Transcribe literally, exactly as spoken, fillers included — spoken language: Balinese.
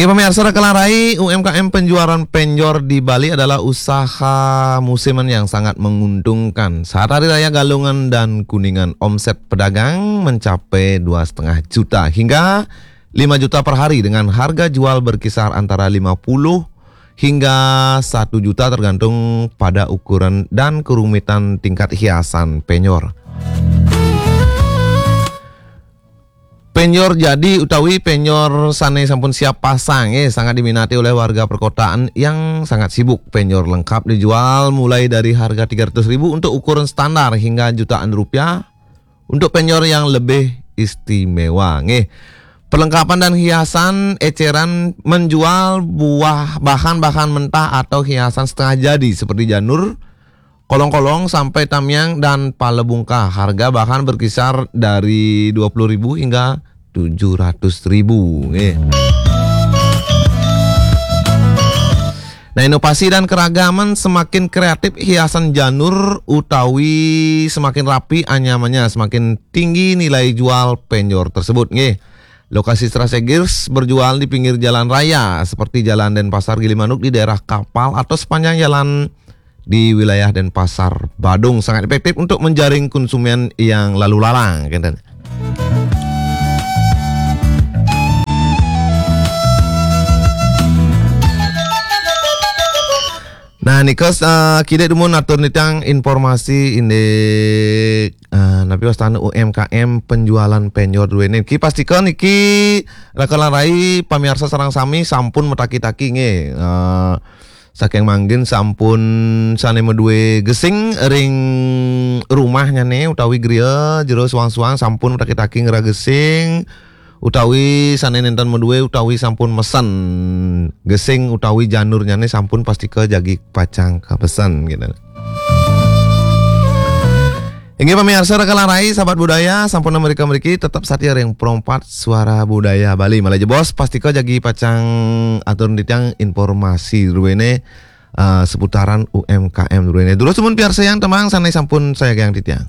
Ya, pemirsa, rekan rai, U M K M penjualan penjor di Bali adalah usaha musiman yang sangat menguntungkan. Saat Hari Raya Galungan dan Kuningan, omset pedagang mencapai dua setengah juta hingga lima juta per hari, dengan harga jual berkisar antara lima puluh hingga satu juta, tergantung pada ukuran dan kerumitan tingkat hiasan penjor. Penjor jadi utawi penjor sane sampun siap pasang, eh, sangat diminati oleh warga perkotaan yang sangat sibuk. Penjor lengkap dijual mulai dari harga tiga ratus ribu untuk ukuran standar hingga jutaan rupiah untuk penjor yang lebih istimewa. Nggih. Perlengkapan dan hiasan eceran menjual buah, bahan-bahan mentah atau hiasan setengah jadi seperti janur, kolong-kolong sampai tamiang dan pala bungkah. Harga bahan berkisar dari dua puluh ribu hingga tujuh ratus ribu. Nggih. Nah, inovasi dan keragaman semakin kreatif, hiasan janur utawi semakin rapi anyamannya, semakin tinggi nilai jual penjor tersebut. Nggih. Lokasi strategis berjual di pinggir jalan raya seperti Jalan Denpasar Gilimanuk, di daerah kapal, atau sepanjang jalan di wilayah Denpasar, Badung, sangat efektif untuk menjaring konsumen yang lalu lalang, kenten. Nah, nika, eh, kidek dumun atur nitang informasi indik, eh, napi wastane U M K M penjualan penjor duene. Ki pastika niki rekan rai, pamiarsa sareng sami sampun mataki-taki nggih. Eh, saking mangkin sampun sane madue gesing ring rumahnyane utawi griya jero suang-suang sampun mataki-taki ngragesing, utawi sane nenten madue utawi sampun mesen gesing utawi janurnyane sampun pastika jagi pacang kapesen, gitu. Inggih pamiarsa rekan rai, sahabat budaya, sampun mrika mriki tetep satia ring Pro empat Suara Budaya Bali. Malih jebos pastika jagi pacang atur titiang informasi duene, eh, seputaran U M K M duene. Durus dumun piarsayang tembang sane sampun sayagiang titiang.